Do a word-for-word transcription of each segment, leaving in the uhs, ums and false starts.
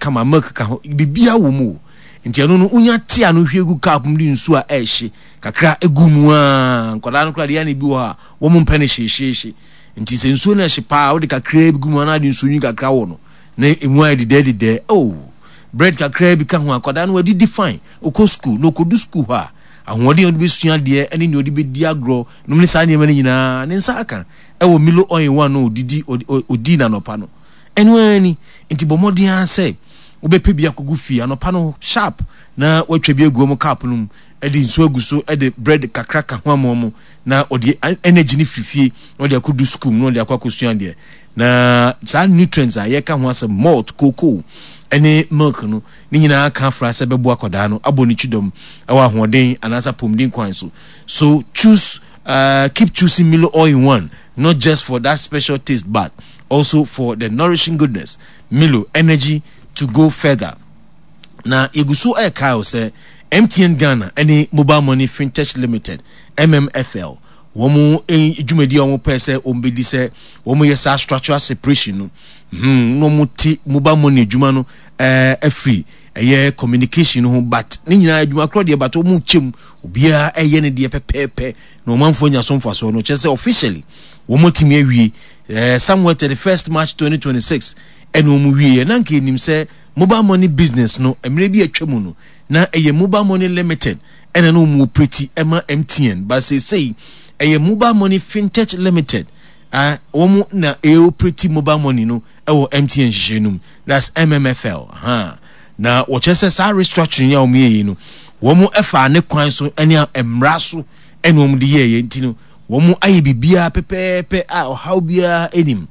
kama, milk ka ho, biribiara wɔ mu o. Nti ɛno no, wonya tea no hwie gu cup mu de nsuo a ɛɛhye kakra egu mu a, nkwadaa no koraa deɛ, ɛna bi wɔ hɔ a wɔn mpɛ no hyeehyeehye. Nti sɛ nsuo no ɛhye paa, wode kakra bi gu mu anaa de nsuo nwi kakra wɔ no na emu ayɛ dedɛɛ dedɛɛ. Oh, bread kakra bi ka ho, akwadaa no wadidi fine. Okɔ school na okɔdu school hɔ a, ahoɔden a ɔde bɛsua adeɛ ne nea ɔde bɛdi agorɔ nom ne saa nneɛma no nyinaa, ne nsa aka ɛwɔ Milo all in one no odidi odi n'anɔpa no. Ɛno ara ni. Nti bɔ mmɔden ara sɛ wobɛpɛ bi akɔgu fie anɔpa no sharp na watwa bi agu wɔn cup no mu, ɛde nsuo agu so, ɛde bread kakra ka ho ama wɔn, na ɔde energy no firi fie na ɔde akɔdu school mu na ɔde akɔ akɔsua adeɛ. Na saa nutrients a yɛka ho asɛm, malt, cocoa ɛne milk no ne nyinaa ka afra sɛ bɛboa akwadaa no abɔ ne kyidɔm ɛwɔ ahoɔden anaasɛ apɔmuden kwan so. So choose uh, keep choosing Milo all in one, not just for that special taste but also for the nourishing goodness. Milo, energy to go further. Na yɛgu so ɛrekae wo sɛ M T N Ghana ɛne Mobile Money Fintech Limited, M M F L, wɔn dwumadi a wɔn pɛ sɛ wɔn bɛdi sɛ wɔn yɛ saa structural separation no hmm na wɔn te mobile money adwuma no ɛɛ afiri ɛyɛ communication no ho, but ne nyinaa adwuma korɔ deɛ, but wɔn kyɛm, obiara ɛyɛ ne deɛ pɛpɛɛpɛ na ɔmanfoɔ nya so mfasoɔ no. Kyerɛ sɛ officially wɔn atumi awie ɛɛ somewhere thirty first March twenty twenty six ɛna wɔn wie yɛ. Na nka enim sɛ mobile money business no, mmerɛ bi atwa mu no, na ɛyɛ Mobile Money Limited ɛna na wɔn operate ɛma M T N, but seesei ɛyɛ Mobile Money Fintech Limited uh, wɔn na ɛoperate mobile money no ɛwɔ M T N nhyehyɛ no mu, that's M M F L. uh, na wɔkyerɛ sɛ saa restructuring a wɔn yɛ yi no, wɔn ɛfa ne kwan so ɛne mmara so ɛna wɔn de yɛɛyɛ. Nti no wɔn ayɛ biribiara pɛpɛɛpɛ a ɔhaw biara anim.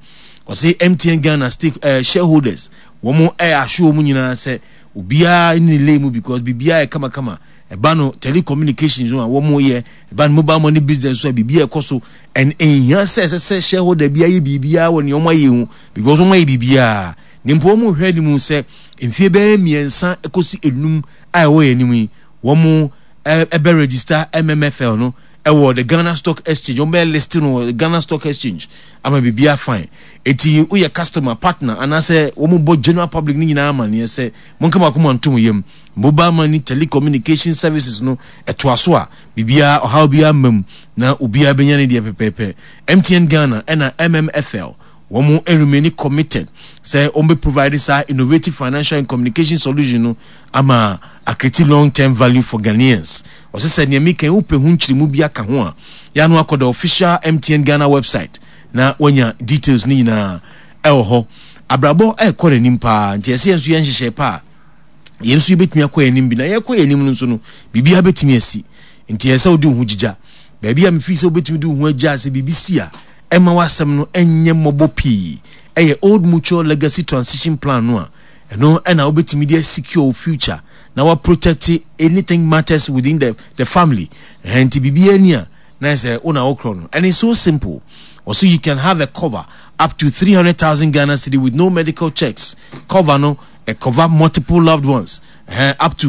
Ɔsɛ M T N Ghana stake uh, shareholders, wɔn ɛyɛ aso wɔn nyinaa sɛ obiara ne ne lay mu because biribiara yɛ kamakama. Ɛba no telecommunications no a wɔn yɛ, ɛba no mobile money business so a, biribiara ɛkɔ so ɛn nhia sɛ ɛsɛ sɛ shareholder bi ayɛ biribiara wɔ nea wɔn ayɛ ho because wɔn ayɛ biribiara. Ne mpo wɔn hwɛ anim sɛ mfie bɛyɛ mmiɛnsa kɔsi enum a ɛwɔ yɛn anim yi, wɔn ɛbɛ register M M F L no ɛwɔ the Ghana Stock Exchange. Wɔn bɛyɛ listing wɔ the Ghana Stock Exchange ama biribiara fine. Eti woyɛ customer, partner anaasɛ wɔn bɔ general public ne nyinaa ama neɛ sɛ mo nkama akoma ntom yam. Mobile money telecommunication services no ɛtoa so a, biribiara ɔhaw biara mma mu na obiara bɛnya ne deɛ pɛpɛɛpɛ. M T N Ghana ɛna M M F L, wɔn remain committed sɛ wɔn bɛ provide saa innovative financial and communication solution no ama acreate long term value for Ghanaians. Ɔsɛ sɛ nea meka wopɛ ho nkyerɛmu bi aka ho a, yɛano akɔ the official M T N Ghana website na wanya details ne nyinaa ɛwɔ hɔ. Abrabɔ ɛrekɔ n'anim paa, nti ɛsɛ yɛn nso yɛn nhyehyɛ paa, yɛn nso yɛbɛtumi akɔ yɛn anim bi na yɛkɔ yɛn anim no nso no, biribiara bɛtumi asi. Nti ɛsɛ sɛ wode wo ho gyigya baabi a mefii sɛ wobɛtumi de wo ho agya sɛ biribi si a, ɛma w'asɛm no ɛnyɛ mmɔbɔ pii. Ɛyɛ Old Mutual Legacy Transition Plan no a, ɛno ɛna wobɛtumi de secure wo future na wa protect anything matters within the, the family. Ɛhɛn, nti biribiara ni a na sɛ wo na wokorɔ no, and it's so simple. Also, you can have a cover up to three hundred thousand Ghana cedi with no medical checks. Cover no uh, cover multiple loved ones uh, up to